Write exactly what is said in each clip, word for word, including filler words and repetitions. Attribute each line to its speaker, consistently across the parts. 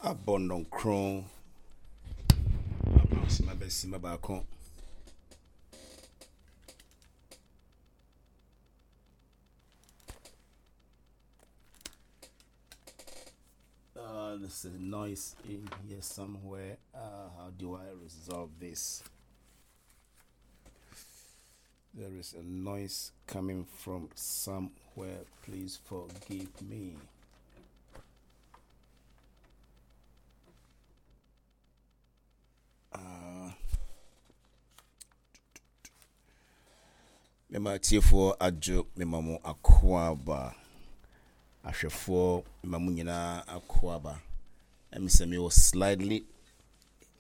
Speaker 1: Abɔ nnɔnkron sima bɛsima baako. Uh, there's a noise in here somewhere. Uh, how do I resolve this? There is a noise coming from somewhere. Please forgive me. Uh, mema atiefoɔ adwo, mema mo akwaaba, ahwɛfoɔ, mema mo nyinaa akwaaba. Ɛmi sɛ mewɔ slightly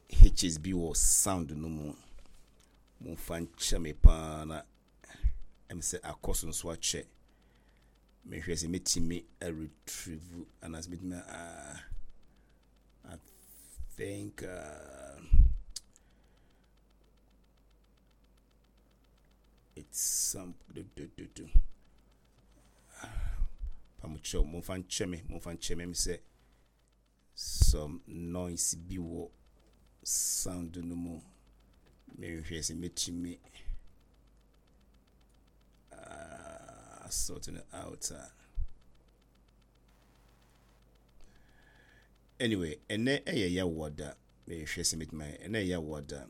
Speaker 1: hitches bi wɔ sound no mu, momfa nkyɛ me paa na ɛmi sɛ akɔ so nso akyɛ. Mehwɛ sɛ mɛtumi retrieve anaasɛ mɛtumi uh, I think uh, it's some do, do, do, do. Pamukyɛw, momfa nkyɛ me, momfa nkyɛ me. Sɛ some noise bi wɔ sound no mu, mehwɛ sɛ mɛtumi uh, sorting it out. uh. Anyway, ɛnɛ ɛyɛ Yawoada. Mehwɛ sɛ mɛtumi ayɛ. Ɛnɛ ɛyɛ Yawoada.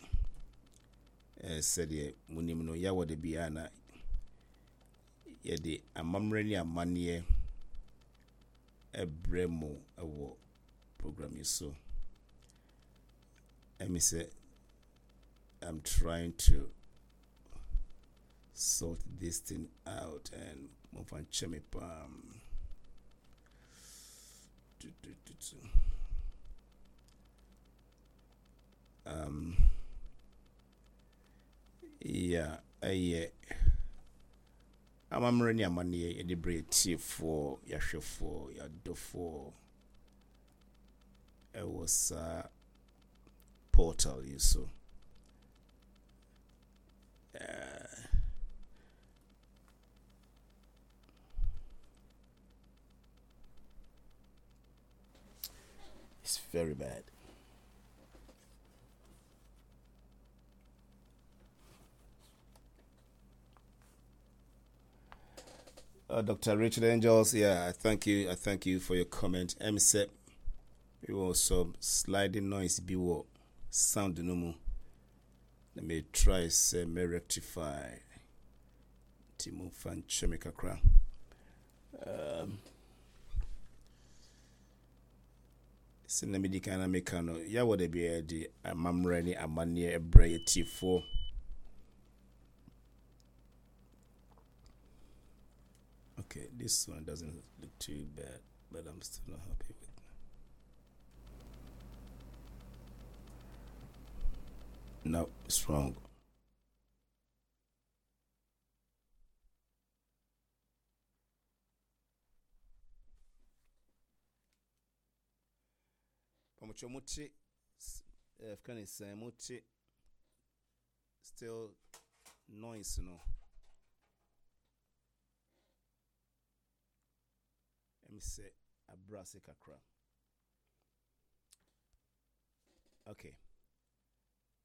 Speaker 1: eh, sɛdeɛ munim no, Yawoada biara na yɛde amammerɛ ne amanneɛ ɛbrɛ mo ɛwɔ program yi so. Ɛmi sɛ I'm trying to sort this thing out and momfa nkyɛ me paa. Tu, tu, tu, tu. Um, yeah, ɛyɛ amammerɛ ne amanneɛ yɛde berɛ tiefoɔ, yɛahwɛfoɔ, yɛadɔfoɔ ɛwɔ saa portal yi so. Uh, it's very bad. Uh, Doctor Richard Angels, yeah, I thank you. I thank you for your comment. M S E P, we also sliding noise be what sound no more. Let me try say me rectify. Timo fan chemika. Um, sɛ na medi kan na meka no, yɛwɔ da biara de amammerɛ ne amanneɛ ɛbrɛ yɛ tiefoɔ. Okay, this one doesn't look too bad, but I'm still not happy with it. No, it's wrong. Pamucho muti, eh, muti, still noise, no. Let me say abrase kakra. Okay.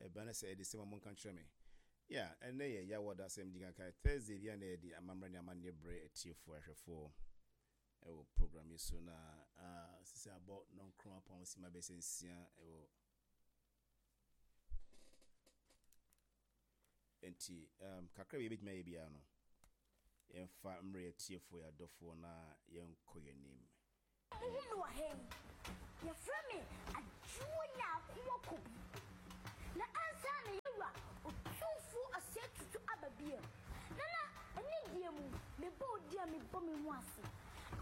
Speaker 1: Ebana say the same among country me. Yeah, and then yeah, what that same thing Thursday yeah na the amamra ni amane bre etiefo ahwefo. Ewo program yi so na ah sisi abo non kron apon si ma besensia ewo. Enti um kakra bi betuma ye bia no. Yɛmfa mmerɛ atiefoɔ, yɛ adɔfoɔ, na yɛnkɔ yɛn anim.
Speaker 2: Wohu me wɔ ha yi, yɛfrɛ me Adwoa Nyaakoa Kobi. Na ansa na yɛwura Otumfoɔ Osei Tutu aba bio. Nana, ɛne deɛ mu, mebɔ wo din a mebɔ me ho ase.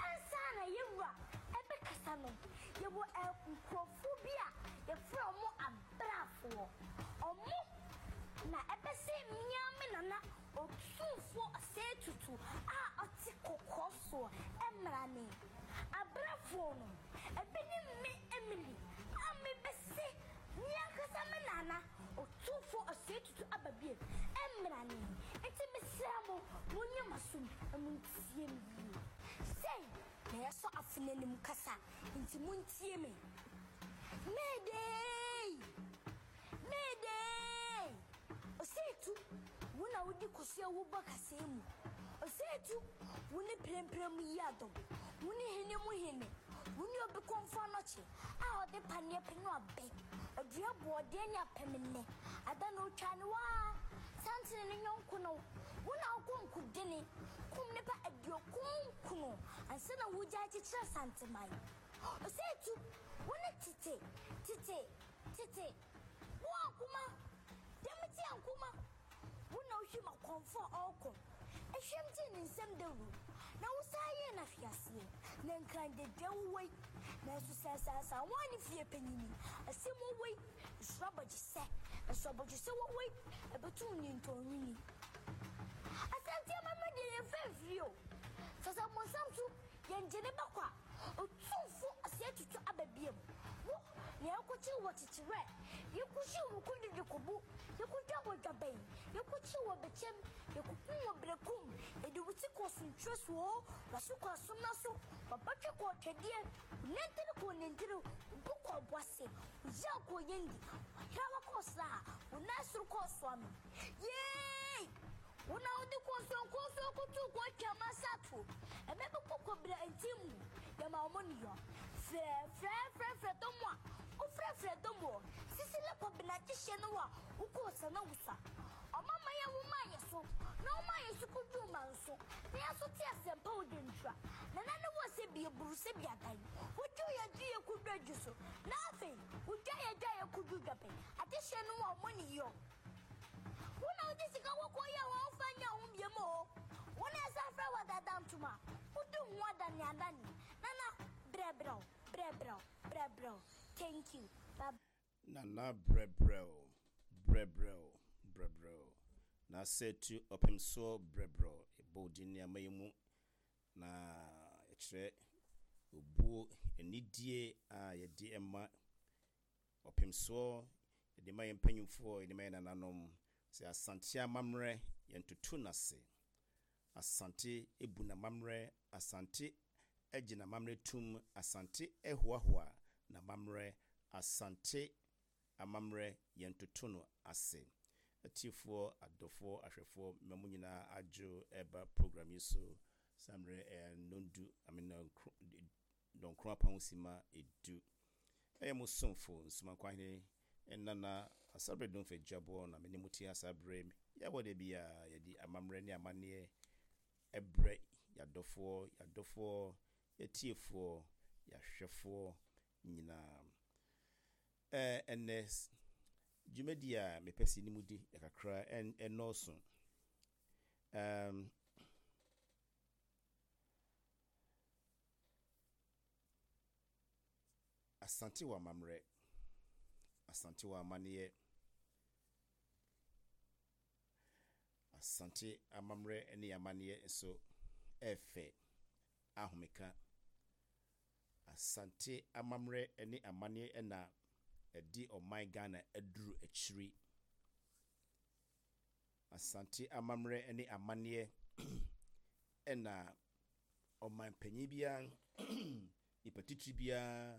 Speaker 2: Ansa na yɛwura ɛbɛkasa no, yɛwɔ nkurɔfoɔ bi a yɛfrɛ ɔmo abrafoɔ. Ɔmo na ɛbɛsɛ mmea me nana Otumfoɔ Osei Tutu a ɔte kɔkɔɔ soɔ ɛmmra ne. Abrafoɔ no, ebi ne me Emily a mebɛsɛ me ankasa me nana Otumfoɔ Osei Tutu aba bio ɛmmra ne. Nti mesrɛ mo, monyɛ m'asom na montie me yie. Sei na yɛsɔ afo n'anim kasa, nti montie me. Mayday! Mayday! Osei Tu, wo na wodi kosua wo ba kasɛɛ mu. Osei Tu, wo ne prɛmprɛ mu yi adɔm. Wo ne hene mu hene. Wo ne obi kɔmfo anɔkye a ɔde paneɛ pɛ no abɛ. Ɔdua boɔdeɛ ne apɛmene. Ada na otwa ne waa. Santene ne nyɔnko no. Wo na wokɔ nkudene. Kum nipa aduokun nkron ansa na wogyae kyekyerɛ Santeman. Osei Tu, wo ne tete, tete, tete. Wo ankoma, dɛm ti ankoma. Wo na wohwim akɔmfo a ɔrekɔ. Ehwɛm gye ne nsam dawuro. Na wo saa yɛ na hweaseɛ. Na nkrandedwa wowɔ yi. Nanso sɛ asasa wɔn ne fie panyini. Asɛm wɔ yi. Nsoro abɔgyesɛ. Nso abɔgyesɛ wɔ yi. Ɛbɛtum ne ntɔnwini. Asante amammerɛ deɛ yɛmfa mfiri o. Sɛ sɛ mmɔnsam so yɛngye ne bakɔ a, Otumfo Osei Tutu aba biam. Wo, nea yɛkɔkyere wɔ kyekyerɛ, yɛkɔhyi wɔ kɔdidi kɔbu, yɛkɔdwa wɔ dwabɛn, yɛkɔkyere wɔ bɛkyɛm, yɛkɔkum wɔ berekum, yɛde wo ti kɔ sontwerɛ so, waso kɔ asomna so, wabatwe kɔ ɔtwɛdeɛ, wo nantiri kɔ nantiri, wo bo kɔ ɔboase, wo yaw kɔ yɛndi, wahrawa kɔ sraa, wo nan soro kɔ ɔsoame. Yee! Wo na wode kɔnsɔnkɔnsɔn koto kɔ atwa masato. Ɛbɛ bi kɔ kɔbra nti mu. Yɛma wɔn niyɔ. Frɛ frɛ frɛ frɛ dɔm a. Wofrɛ frɛ dɔm wɔ. Sisi le kɔbena kyehyɛ no a wokɔɔ sana wusa. Ɔmama yɛ wo ma yɛ so. Na wo ma yɛ so kodu ma nso. Na yɛ so te asɛmpa wo de ntura. Na na ne wɔ sɛ bi eburu sɛ bi adan. Wodwo yɛ dwo yɛ kodu adwo so. Na afei, wodwa yɛ dwa yɛ kodu dwabɛn. Adehyɛ no wɔ ɔmo niyɔ. Wo na wode sika kɔkɔɔ yɛ wɔn fa nya wo biem o. Wo na ɛsɛ frɛ wɔ dada ntoma. Wodi ho adane adane. Nana, brɛbrɛw, brɛbrɛw, brɛbrɛw. Thank you. Bye.
Speaker 1: Nana brɛbrɛw, brɛbrɛw, brɛbrɛw. Na sɛ tu ɔpem soɔ brɛbrɛw. Ɛbɔ wo din nneɛma yi mu na ɛkyerɛ obuo anidie a yɛde ma ɔpem soɔ, yɛde ma yɛn mpanyimfoɔ, yɛde ma yɛn nananom. Sɛ Asante amammerɛ yɛntoto n'ase. Asante ebu n'amammerɛ, Asante agye n'amammerɛ tum, Asante ɛhoahoa n'amammerɛ, Asante amammerɛ yɛntoto no ase. Atiefoɔ, adɔfoɔ, ahwɛfoɔ, mma mo nyinaa adwo ɛba program yi so. Saa mmerɛ ɛyɛ nnɔndu, I mean, dɔnkron apam sima edu. Ɛyɛ mo somfo Nsumankwahene Nana Asabre Domfe Dwaboɔ na me ne mo te ha saa berɛ yi. Yɛwɔ da bi a yɛde amammerɛ ne amanneɛ ɛbrɛ yɛadɔfoɔ, yɛadɔfoɔ, yɛtiefoɔ, yɛahwɛfoɔ nyinaa. Ɛɛ ɛnɛ dwumadi a mepɛ sɛ ne mu di kakra ɛnɔɔso. Um, Asante wɔ amammerɛ, Asante wɔ amanneɛ, Asante amammerɛ ne amanneɛ nso ɛɛfɛ ahomeka. Asante amammerɛ ne amanneɛ na ɛde ɔman Ghana aduru akyiri. Asante amammerɛ ne amanneɛ ɛna ɔman panyin biara, nipa titiri biara,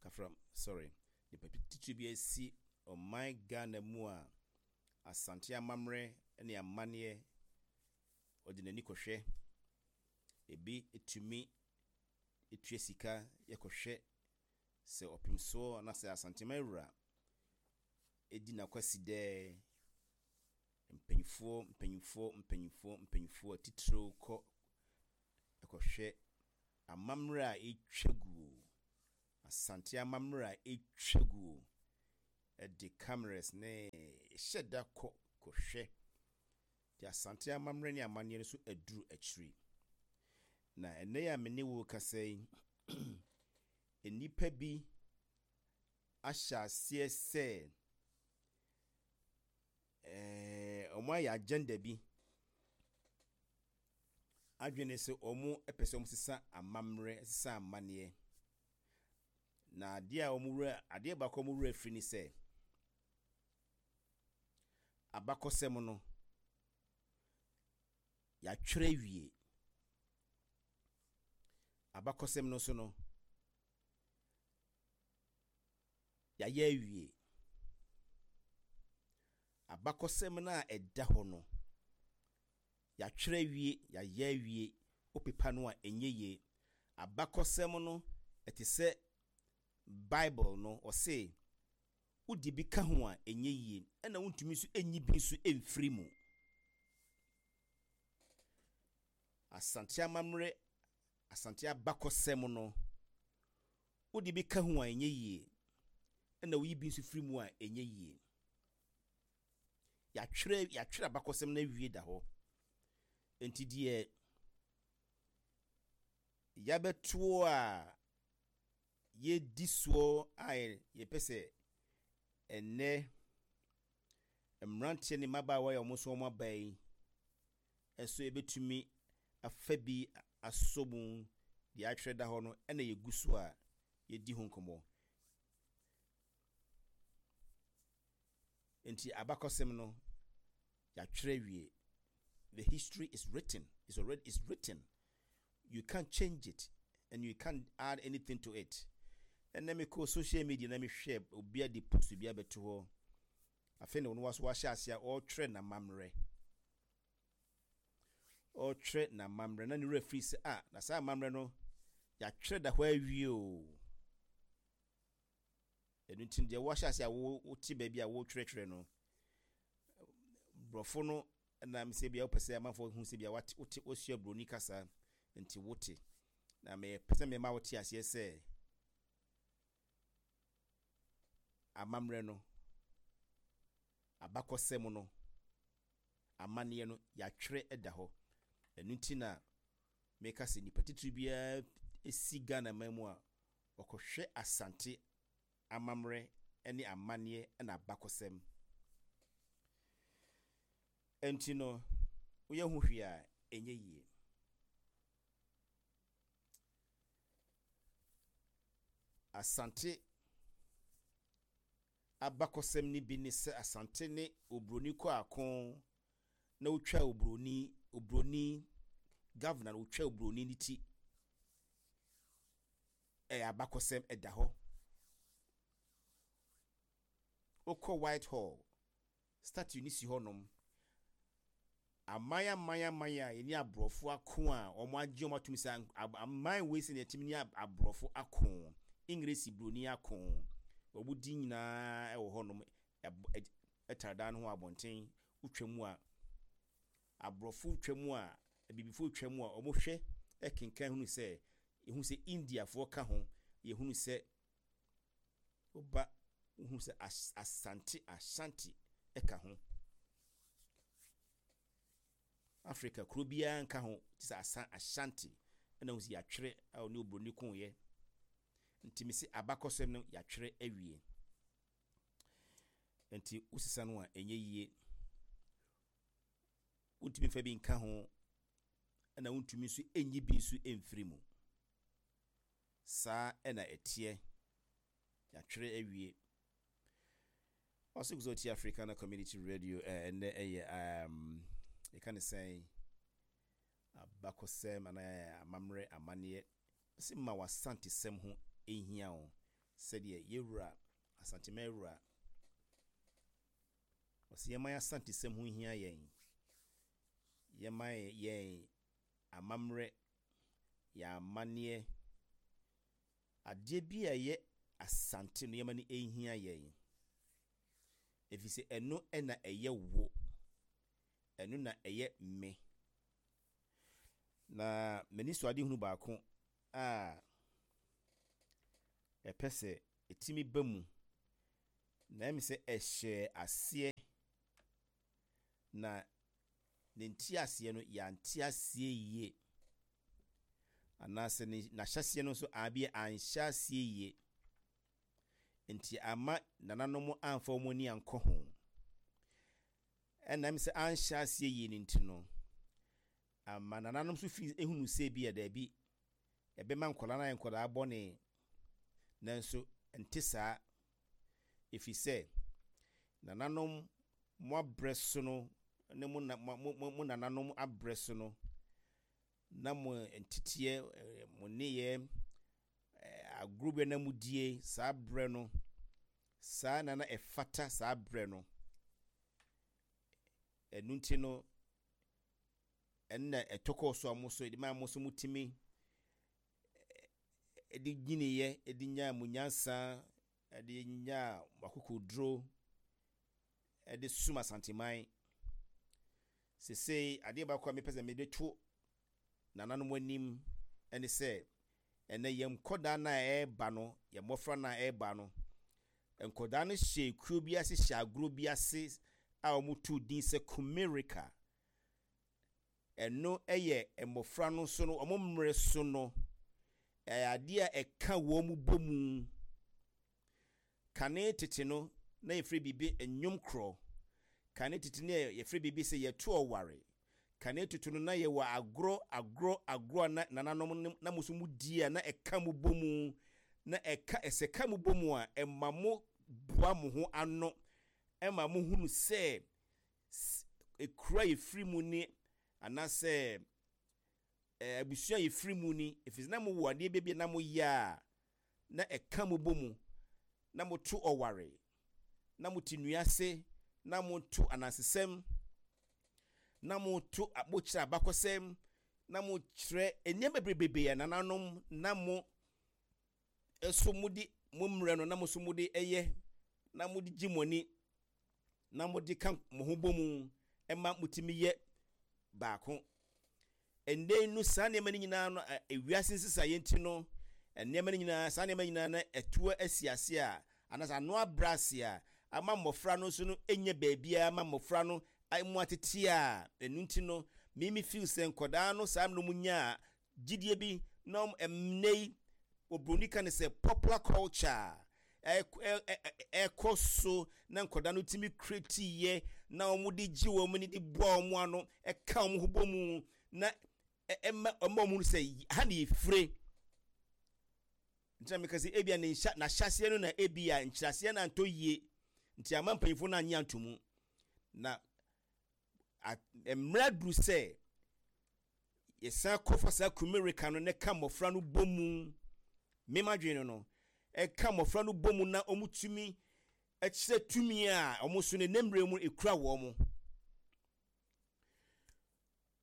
Speaker 1: kafra, sorry, nipa titiri biara si ɔman Ghana mu a Asante amammerɛ ne amanneɛ ɔde n'ani kɔhwɛ. Ebi etumi etua sika yɛkɔhwɛ sɛ ɔpem soɔ anaasɛ Asanteman wura edi n'akwasi dɛ mpanyinfoɔ mpanyinfoɔ mpanyinfoɔ mpanyinfoɔ atitiriw kɔ ɛkɔhwɛ amammerɛ a etwa guo, Asante amammerɛ a etwa guo, ɛde cameras ne ɛhyɛ da kɔ kɔhwɛ. Te Asante amammerɛ ne amanneɛ no so aduru akyiri. Na ɛnnɛ yi a me ne wo kasa yi, nnipa bi ahyɛ aseɛ sɛ ɛɛ wɔn ayɛ agenda bi. Adwene sɛ wɔn pɛ sɛ wɔn sesa amammerɛ, sesa amanneɛ. Na adeɛ a wɔn wura adeɛ baako a wɔn wura firi ne sɛ abakɔsɛm no yɛatwerɛ wie. Abakɔsɛm no nso no Yɛayɛ awie. Abakɔsɛm no a ɛda hɔ no, yɛatwerɛ awie, yɛayɛ awie. Wopepa no a, ɛnyɛ yie. Abakɔsɛm no, ɛte sɛ Bible no, ɔse wode bi ka ho a, ɛnyɛ yie, ɛna wontumi nso nyi bi nso mfiri mu. Asante amammerɛ, Asante abakɔsɛm no, wode bi ka ho a, ɛnyɛ yie, ɛna woyi bi nso firi mu a, ɛnyɛ yie. Yɛatwerɛ, yɛatwerɛ abakɔsɛm no awie da hɔ. Nti deɛ yɛabɛtoɔ a yɛdi soɔ a yɛpɛ sɛ ɛnnɛ mmeranteɛ ne mmabaawa a wɔn nso wɔn aba yi nso yɛbɛtumi afa bi asɔ mu deɛ atwerɛ da hɔ no, ɛna yɛgu so a yɛdi ho nkɔmmɔ. Nti abakɔsɛm no yɛatwerɛ awie. The history is written. It's already it's written. You can't change it and you can't add anything to it. Ɛnna mekɔ social media na mehwɛ obi de post bi abɛto hɔ. Afei na ɔno waso wahyɛ ase a ɔretwerɛ n'amammerɛ. Ɔretwerɛ n'amammerɛ na ne werɛ firi sɛ ah, na saa amammerɛ no yɛatwerɛ da hɔ awie o. Ɛno nti deɛ wahyɛ ase a wote baabi a wɔretwerɛtwerɛ no, borɔfo no nam sɛ bia wopɛ sɛ amanfoɔ hu sɛ bia wate wote wasua buroni kasa nti wote. Na mepɛ sɛ mema wote aseɛ sɛ amammerɛ no, abakɔsɛm no, amanneɛ no, yɛatwerɛ da hɔ. Ɛno nti na meka sɛ nipa titiri biara si Ghana man mu a, ɔkɔhwɛ Asante amammerɛ ne amanneɛ na abakɔsɛm. Nti no, woyɛ ho hwee a, ɛnyɛ yie. Asante abakɔsɛm no bi ne sɛ Asante ne oburoni kɔ ako na wotwa oburoni, oburoni governor na wotwa oburoni ne ti. Ɛyɛ abakɔsɛm, ɛda hɔ. Wokɔ White Hall, statue ne si hɔnom. Aman aman aman a yɛne aborɔfo ako a wɔn agye wɔn atum sɛ aman wei sɛ yɛtumi ne aborɔfo ako, English buroni ako, wɔn di nyinaa wɔ hɔnom, ɛtare dan no ho abɔnten. Wotwa mu a, aborɔfo twa mu a, abibifoɔ twa mu a, wɔhwɛ ɛkenkan hunu sɛ, yɛhu sɛ Indiafoɔ ka ho, yɛhunu sɛ woba wohu sɛ Asante, Ashanti ɛka ho. Africa kuro biara nka ho te sɛ asa Ashanti, ɛna wohu sɛ yɛatwerɛ a ɔne oburoni koeɛ. Nti mese abakɔsɛm no yɛatwerɛ awie. Nti wosesa no a, ɛnyɛ yie. Wontumi mfa bi nka ho, ɛna wontumi nso ɛnyi bi nso ɛmfiri mu. Saa ɛna ɛteɛ. Yɛatwerɛ awie. Ɔsɛ gu sɛ ɔtie Africana Community Radio. Ɛnnɛ ɛyɛ um, yɛka ne sɛn, abakɔsɛm anaa amammerɛ amanneɛ. Sɛ ma w'asantesɛm ho ɛhia wo sɛdeɛ yɛwura Asantema wura ɔsɛ yɛma yɛ asantesɛm ho hia yɛn, yɛma yɛn amammerɛ, yɛn amanneɛ, adeɛ bi a ɛyɛ Asante no, yɛma no ɛhia yɛn, ɛfiri sɛ ɛno ɛna ɛyɛ wo, ɛno na ɛyɛ me. Na m'ani so ade hunu baako a ɛpɛ sɛ ɛtumi ba mu na ɛmi sɛ ɛhyɛ aseɛ na ne nteaseɛ no yɛante aseɛ yie, anaasɛ ne n'ahyɛseɛ no nso abi anhyɛ aseɛ yie, nti ama nananom amfa wɔn ani ankɔ ho. Ɛnam sɛ anhyɛ aseɛ yie no nti no, ama nananom nso fi ehunu sɛ bi a daabi, ɛbɛma nkwadaa no ayɛ nkwadaa bɔne. Nanso nte saa, ɛfiri sɛ nananom mo abrɛ so no ne mo na mo mo mo nananom abrɛ so no, na mo nteteɛ, mo nneyɛɛ, agorɔ bi na mo die saa berɛ no Saa na na ɛfata saa berɛ no. Ɛno nti no, ɛnna ɛtɔ kɔɔ so a mo so ɛde maa mo so motumi ɛde nyiniiɛ, ɛde nyaa mo nyansa, ɛde nyaa mo akokoduro, ɛde sum Asanteman. Sesei adeɛ baako a mepɛ sɛ mede to nananom anim ɛne sɛ, ɛnɛ yɛn nkɔdaa no a ɛreba no, yɛn mmɔfra no a ɛreba no, nkɔdaa no hyɛ kuo bi ase, hyɛ agorɔ bi ase a wɔto din sɛ Kumirika. Ɛno yɛ mmɔfra no nso no, wɔn mmerɛ so no, ɛyɛ adeɛ a ɛka wɔn bɔ mu. Kane tete no, na yɛfrɛ biribi nnwom korɔ. Kane tete no yɛfrɛ biribi sɛ yɛto ɔware. Kane tete no na yɛwɔ agorɔ agorɔ agorɔ a na nananom na mo nso mo di a na ɛka mo bɔ mu. Na ɛka ɛsɛ ka mo bɔ mu a ɛma mo boa mo ho ano, ɛma mo hunu sɛ ekura yɛfiri mu ni anaasɛ abusua yɛfiri mu ni. Ɛfiri na mowɔ adeɛ bi na moyɛ a na ɛka mo bɔ mu, na moto ɔware, na mote nnua ase, na moto anansesɛm, na moto mokyerɛ abakɔsɛm, na mokyerɛ nneɛma bebrebe a nananom na mo ɛso mode mo mmerɛ no na mo nso mode ɛyɛ, na mode gye mo ani, na mode ka mo ho bɔ mu ɛma motumi yɛ baako. Ɛnnɛ no saa nneɛma no nyinaa no, ewiase nsesaeɛ nti no, nneɛma no nyinaa, saa nneɛma nyinaa no ɛtoa asi ase a, anaasɛ ano abrɛ ase a, ama mmɔfra no nso no ɛnya baabiara ma mmɔfra no mu atete a, ɛno nti no, mimi feel sɛ nkɔdaa no saa mmerɛ mu nyaa gyidie bi na ɛnnɛ yi, oburoni ka ne sɛ popular culture ɛkɔ so na nkɔdaa no tumi create yɛ na wɔn de gye wɔn ani de boa wɔn ano, ɛka wɔn ho bɔ mu na ɛma ɛma wɔn sɛ ha na yɛfire. Nti na meka sɛ ebia ne nhyɛ n'ahyɛseɛ no na ebia nkyerɛaseɛ no antɔ yie nti ama mpanyinfoɔ no anye anto mu. Na mmerɛ duru sɛ yɛsan kɔfa saa Kumirika no na ɛka mmɔfra no bɔ mu. Mema dwene no no ɛka mmɔfra no bɔ mu na wɔn tumi ɛkyerɛ tumi a wɔn so ne ne mmerɛ mu ekura wɔn.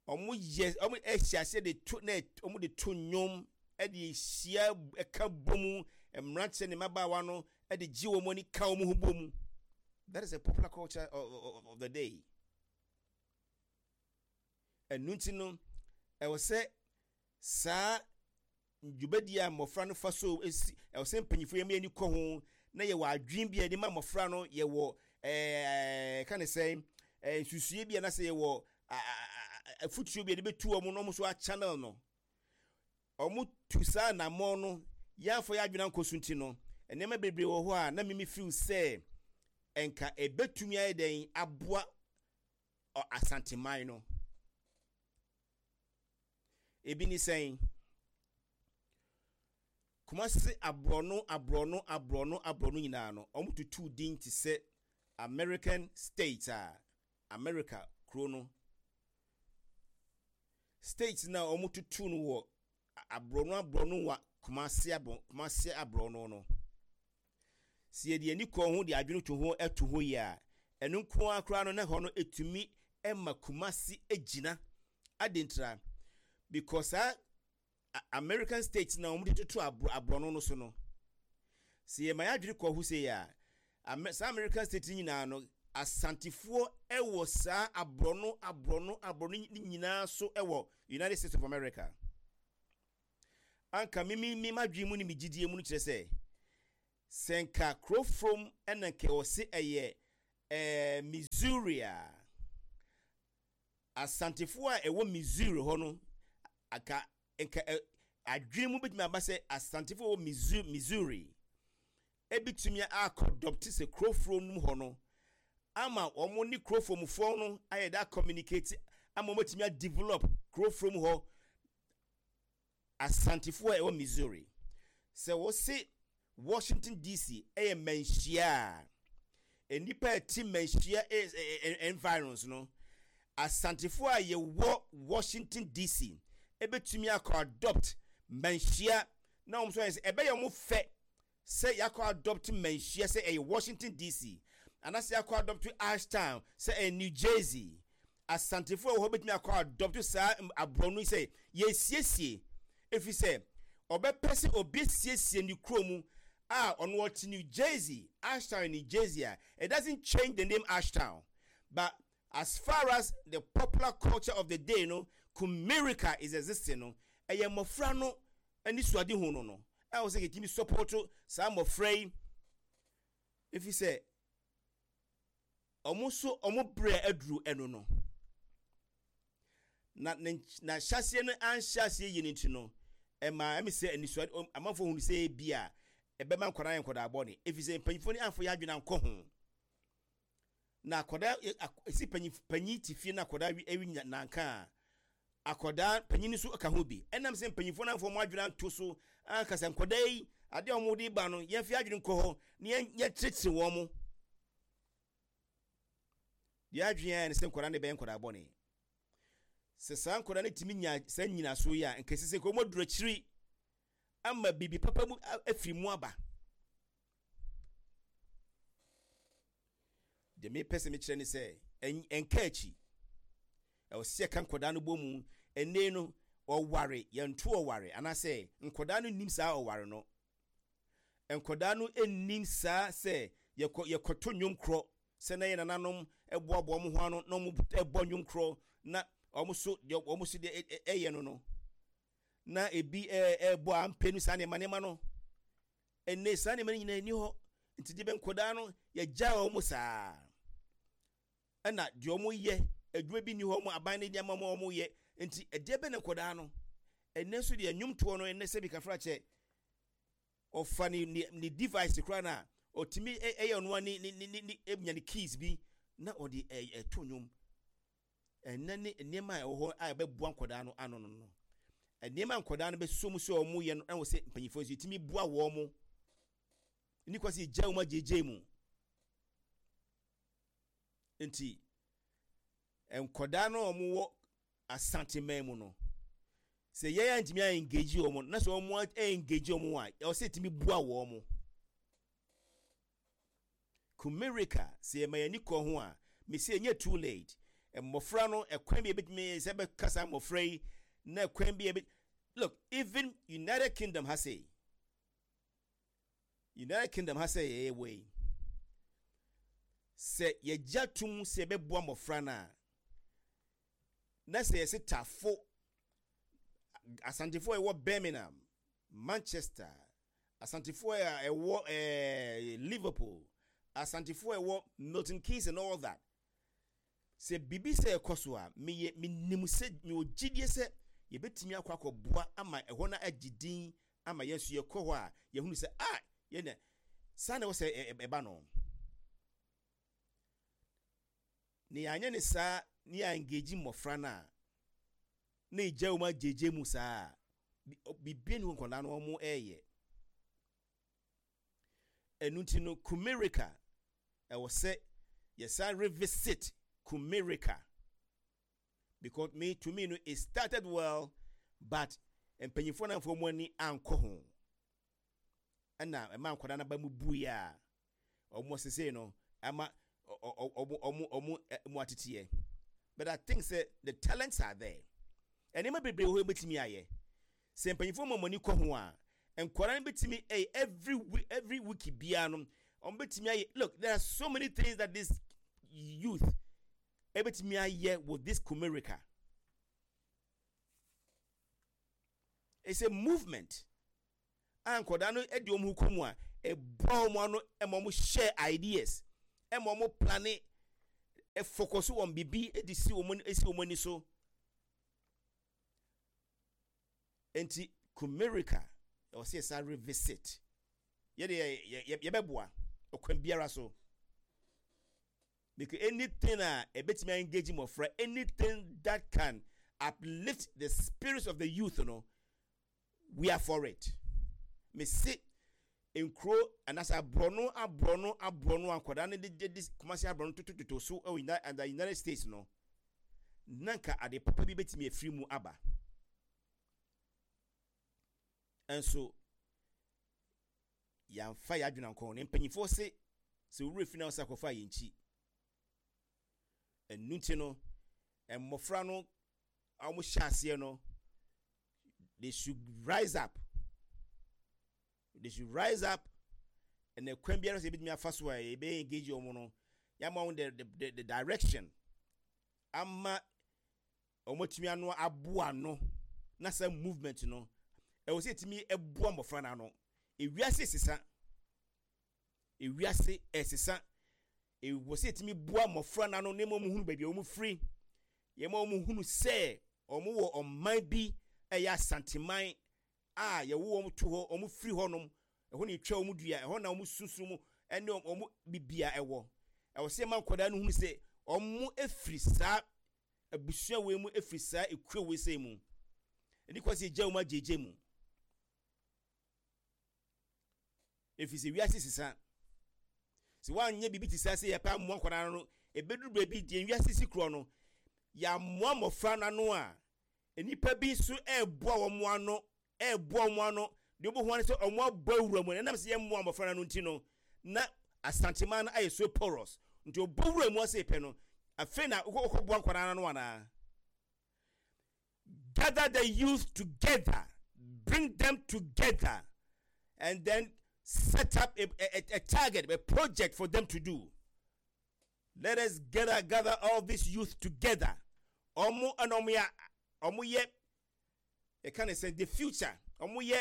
Speaker 1: Wɔn yɛ wɔn ɛhyɛ aseɛ de to na wɔn de to nnwom, ɛde hyia ɛka bɔ mu, mmeranteɛ ne mmabaawa no ɛde gye wɔn ani ka wɔn ho bɔ mu. That is a popular culture of, of, of the day. Ɛnu nti no, ɛwɔ sɛ saa dwumadie a mmɔfra no fa so esi, ɛwɔ sɛ mpanyinfoɔ yɛn ani kɔ ho na yɛwɔ adwene bi a yɛde ma mmɔfra no, yɛwɔ ɛɛ ka ne sɛ ɛɛ nsusue bi a na sɛ yɛwɔ afutuo bi a yɛde bɛtu wɔn na wɔn nso achannel no. Wɔn tu saa anammɔn no, yɛafɔ yɛ adwene ankɔ so nti no, nneɛma bebree wɔ hɔ a na mimi feel sɛ nka ebetumi ayɛ dɛn aboa Asanteman no. Ebi ni sɛn? Kumasi aborɔno aborɔno aborɔno aborɔno nyinaa no, wɔn tutu din te sɛ American state a America kuro no state na wɔn tutu no wɔ aborɔno aborɔno wɔ Kumasi aborɔ Kumasi aborɔno no. Si yɛde ani kɔ ho de adwene to ho ɛto hɔ yi a, ɛno nko ara koraa no na hɔ no etumi ɛma Kumasi egyina adentra, because saa American states na wɔn de toto aborɔno no so no, si yɛ ma yɛ adwene kɔ ho sɛ yɛ a, saa American state nyinaa no, Asantefoɔ ɛwɔ saa aborɔno aborɔno aborɔno nyinaa so ɛwɔ United States of America. Anka mimi mi madwene mu ne mi gyidie mu no kyerɛ sɛ sɛ nka kurofrom ɛna nka wɔse ɛyɛ ɛɛ Missouri a, Asantefoɔ a ɛwɔ Missouri hɔ no, aka nka ɛ adwene mu bɛtumi aba sɛ Asantefoɔ wɔ Missouri Missouri ebitumi akɔ adopt sɛ kurofrom no mu hɔ no ama wɔn ne kurofromfoɔ no ayɛ da communicate ama wɔn atumi adevelop kurofrom hɔ. Asantefoɔ a ɛwɔ Missouri, sɛ wɔse Washington D C ɛyɛ manhyia a nnipa a ɛte manhyia environs no, Asantefoɔ a yɛwɔ Washington D C ebetumi akɔ adopt manhyia na wɔn nso ayɛ sɛ ɛbɛyɛ wɔn fɛ. Sɛ yɛakɔ adopt Manhyia sɛ ɛyɛ Washington D C, anaasɛ yɛakɔ adopt Ashtown sɛ ɛyɛ New Jersey, Asantefoɔ a ɛwɔ hɔ bɛtumi akɔ adopt saa aborɔno yi sɛ yɛsiesie, ɛfiri sɛ ɔbɛpɛ sɛ obi siesie ne kuro mu a ɔno ɔte New Jersey, Ashtown, New Jersey a, it doesn't change the name Ashtown. But as far as the popular culture of the day no, Kumerica is existing no, ɛyɛ mmɔfra no ani suade ho no no a wɔ sɛ yɛtumi support saa mmɔfra yi, ɛfiri sɛ ɔmo nso ɔmo brɛ aduru ɛno no na ne na hyɛaseɛ no anhyɛ aseɛ yie no nti no, ɛma ɛmi sɛ anisuade amanfoɔ hunu sɛ ebi a ɛbɛma nkwadaa yɛ nkwadaa bɔne, ɛfiri sɛ mpanyinfoɔ no amfo yɛ adwene ankɔ ho. Na akwadaa esi panyin panyin ti fie na akwadaa wi ewi nanka a, akwadaa panyin nso ka ho bi. Ɛnam sɛ mpanyinfoɔ no amfo wɔn adwene anto so ankasa, nkwadaa yi adeɛ a wɔn de ba no, yɛn fi adwene nkɔ hɔ na yɛn yɛkyerɛkyerɛ wɔn mo deɛ, adwene ayɛ ne sɛ nkwadaa no bɛyɛ nkwadaa bɔne. Sɛ saa nkwadaa no tumi nya saa nyinaso yi a, nkɛse sɛ nkɔmɔ duro akyiri ama biribi papa mu afiri mu aba. Deɛ mepɛ sɛ mekyerɛ ne sɛ ɛnka akyi, ɛwɔ sɛ yɛka nkwadaa no bɔ mu. Ɛnne no ɔware yɛnto ɔware, anaasɛ nkwadaa no nim saa ɔware no, nkwadaa no nim saa sɛ yɛkɔ yɛkɔto nnwom korɔ, sɛ na yɛ nananom ɛboaboa wɔn ho ano na wɔn ɛbɔ nnwom korɔ, na wɔn so deɛ wɔn so deɛ ɛyɛ no no na ebi ɛɛ ɛbɔ ampe no, saa nneɛma nneɛma no. Ɛnne saa nneɛma no nyinaa ni hɔ, nti deɛ bɛ nkwadaa no yɛgya wɔn saa, ɛna deɛ wɔn yɛ adwuma bi ni hɔ, wɔn aban ne nneɛma wɔn wɔn yɛ. Nti ɛdeɛ bɛ ne nkwadaa no ɛnɛ nso deɛ nnwomtoɔ no, ɛnɛ sɛbi kafra kyɛ ɔfa ne ne ne device koraa na ɔtumi ɛyɛ ɔno ne ne ne ne enya ne keys bi na ɔde ɛ ɛto nnwom. Ɛnɛ ne nneɛma a ɛwɔ hɔ a ɛbɛboa nkwadaa no ano no no nneɛma nkwadaa no bɛso mu sɛ wɔn yɛ no, ɛwɔ sɛ mpanyinfoɔ nso yɛtumi boa wɔn mo ne kɔ sɛ gya wɔn agyegye mu. Nti nkwadaa no a wɔwɔ Asanteman mu no, sɛ yɛn a ntumi a engage wɔn na sɛ wɔn engage wɔn a, ɛwɔ sɛ yɛtumi boa wɔn. Kumerica, sɛ yɛma yɛn ani kɔ ho a, mesi ɛnyɛ too late. Mmɔfra no, ɛkwan bi ebitumi sɛ bɛkasa mmɔfra yi na ɛkwan bi ebi, look, even United Kingdom ha sei, United Kingdom ha sɛ yɛyɛ wɔ yi, sɛ yɛgya tum sɛ yɛbɛboa mmɔfra no a, na sɛ yɛsɛ tafo Asantefoɔ a ɛwɔ Birmingham, Manchester, Asantefoɔ a ɛwɔ ɛɛ Liverpool, Asantefoɔ a ɛwɔ Milton Keynes and all that, sɛ biribi sɛ ɛkɔ so a, meyɛ menim sɛ mewɔ gyidie sɛ yɛbɛtumi akɔ akɔboa ama ɛhɔ no agye din, ama yɛn nso yɛkɔ hɔ a, yɛhunu sɛ a yɛn saa na ɛwɔ sɛ ɛba no. Ne yɛanyɛ ne saa ne yɛ engage mmɔfra no a, na ɛgya wɔn agyegye mu saa, biribi ne nkwadaa no wɔn ɛreyɛ. Ɛno nti no, Kumerica, ɛwɔ sɛ yɛsan revisit Kumerica, because me to me no, it started well, but mpanyinfoɔ no amfa wɔn ani ankɔ ho, ɛna ɛma nkwadaa no aba mu bui a wɔn sese no ama ɔmo ɔmo ɔmo mu ateteɛ. But I think say the talents are there. Nneɛma bebree wɔ hɔ ebetumi ayɛ sɛ mpanyinfoɔ ma wɔn ani kɔ ho a, nkwadaa no betumi ɛyɛ every week, every week biara no wɔn betumi ayɛ. Look, there are so many things that this youth ebetumi ayɛ with this Kumerica. It's a movement a nkwadaa no de wɔn ho kɔ mu a, ɛboa wɔn ano, ɛma wɔn share ideas, ɛma wɔn plan, ɛfocus wɔn bibi de si wɔn esi wɔn ani so. Nti Kumerica, ɛwɔ sɛ yɛsan revisit. Yɛde yɛ yɛ yɛbɛboa ɔkwan biara so, because anything a ɛbɛtumi engage mmɔfra, anything that can uplift the spirits of the youth no, we are for it. Mesi nkuro anaasɛ aborɔno aborɔno aborɔno akwadaa no de de de Kumasi aborɔno totototo so ɛwɔ United United States no, na nka ade papa bi bɛtumi afiri mu aba. Nso Yɛamfa yɛ adwene ankɔ ne mpanyinfoɔ se sɛ owurɛ fi na ɔsɛ akɔfa yɛn nkyi. Ɛnu nti no, mmɔfra no a wɔhyɛ aseɛ no, they should rise up, they should rise up. Ɛna kwan biara sɛ ebitumi afa so a yɛbɛyɛ engage wɔn no, yɛama wɔn the the the direction ama wɔn atumi ano aboa ano. Na sɛ movement no, ɛwɔ sɛ yɛtumi ɛboa mmɔfra no ano. Ewiase sesa, ewiase ɛsesa. Ɛwɔ sɛ yɛtumi boa mmɔfra no ano na wɔn hunu baabi a wɔn firi, yɛma wɔn hunu sɛ wɔn wɔ ɔman bi, ɛyɛ Asanteman a yɛwo wɔn to hɔ, wɔn firi hɔnom, ɛhɔ na etwa wɔn dua, ɛhɔ na wɔn sunsun mu ɛne wɔn bibia ɛwɔ. Ɛwɔ sɛ yɛma nkwadaa no hunu sɛ wɔn efiri saa abusua wei mu, efiri saa ekuo wei sɛ mu. Ɛni kɔ sɛ egya wɔn agyegye mu, efiri sɛ wiase sisa. Sɛ woanyɛ biribi te sɛ sɛ yɛpɛ amoa nkwadaa no, ebɛduru baabi deɛ wiase si korɔ no, yɛamoa mmɔfra no ano a, nnipa bi nso ɛreboa wɔn ano, ɛreboa wɔn ano deɛ, wobɛhu ano sɛ wɔn abɔ awura mu. Ɛnam sɛ yɛmmoa mmɔfra no ano nti no, na Asanteman no ayɛ so porous, nti ɔbɔ wura mu ase pɛ no, afei na wokɔboa nkwadaa no ano anaa. Gather the youth together, bring them together and then set up a, a, a target, a project for them to do. Let us gather gather all these youth together. Ɔmo ɛna ɔmo yɛ ɔmo yɛ ɛka ne sɛ the future. Ɔmo yɛ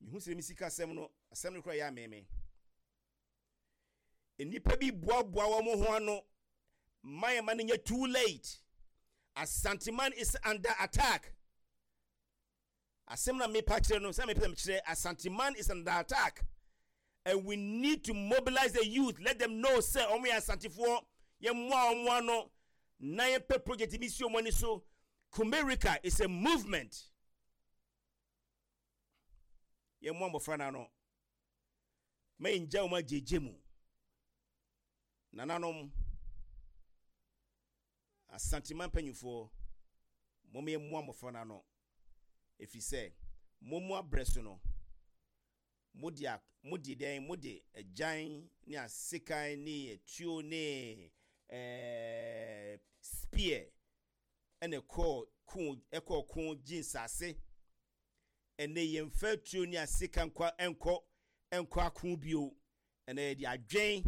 Speaker 1: mihu sɛ mi sika asɛm no, asɛm no kora yɛ ameme. Nnipa bi boaboa wɔn ho ano man ma no nyɛ too late. Asanteman is under attack. Asɛm na mepa kyerɛ no sɛ mepɛ kyerɛ, Asanteman is under attack and we need to mobilize the youth. Let them know sɛ ɔmo yɛ Asantefoɔ. Yɛmmoa ɔmo ano na yɛpɛ project bi si ɔmo ani so. Kumerica is a movement. Yɛmmoa mmɔfra no ano ma yɛngya wɔn agyegye mu. Nananom, Asanteman mpanyinfoɔ, mom yɛmmoa mmɔfra no ano, ɛfiri sɛ mo mu abrɛ so no, mode a mode dɛn, mode agyan ne asekan ne atuo ne ɛɛ spear ɛna ɛkɔɔ ko, ɛkɔɔ ko gye nsase. Ɛnɛ yɛmfa atuo ne asekan nkɔ ɛnkɔ ɛnkɔ ako bio. Ɛnɛ yɛde adwen,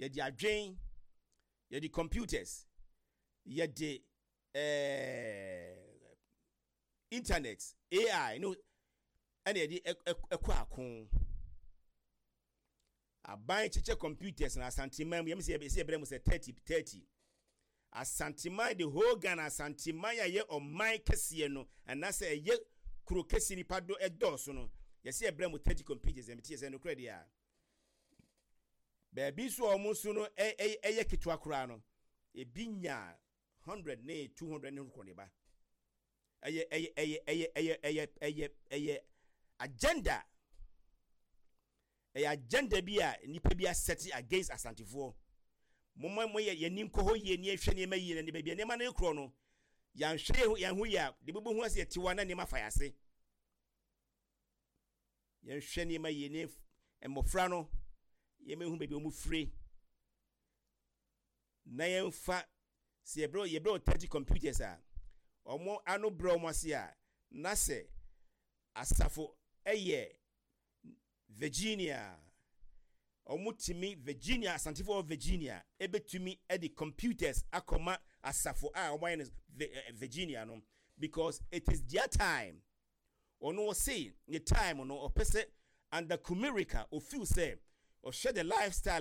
Speaker 1: yɛde adwen, yɛde computers, yɛde ɛɛ internet, A I no ɛna yɛde ɛkɔ ako. Aban kyekyɛ computers na Asanteman mu yɛm sɛ yɛsɛ yɛbrɛ mu sɛ thirty thirty. Asanteman, the whole Ghana, Asanteman a ɛyɛ ɔman kɛseɛ no anaasɛ ɛyɛ kuro kɛseɛ, nipa do ɛdɔɔso no, yɛsɛ yɛbrɛ mu thirty computers. Ɛmɛ ti yɛ sɛ nokorɛ deɛ a, baabi nso a wɔn nso no ɛyɛ ketewa koraa no, ebi nya hundred ne two hundred ne kɔ ne ba. Ɛyɛ ɛyɛ ɛyɛ ɛyɛ ɛyɛ ɛyɛ ɛyɛ ɛyɛ agenda, ɛyɛ agenda bi a nipa bi asɛte against Asantefoɔ. Mo mo yɛ yɛn ni nkɔ hɔ yie ni, yɛhwɛ nneɛma yie na ne baabi a nneɛma no korɔ no, yɛnhwɛ yɛn ho yie a, de bɛbɔ ho ase yɛte wa na nneɛma fa yɛ. Yɛnhwɛ nneɛma yie ne mmɔfra no, yɛmɛhu baabi a wɔn firi na yɛmfa sɛ yɛbrɛ yɛbrɛ wɔ thirty computers a, wɔn ano brɛ wɔn ase a, na sɛ asafo ɛyɛ Virginia, wɔn tumi Virginia, Asantefoɔ wɔ Virginia ebetumi ɛde computers akɔma asafo a wɔn ayɛ no Virginia no, because it is their time. Ɔno ɔse ne time no, ɔpɛ sɛ under Kumerica, ofeel sɛ ɔhwɛ the lifestyle.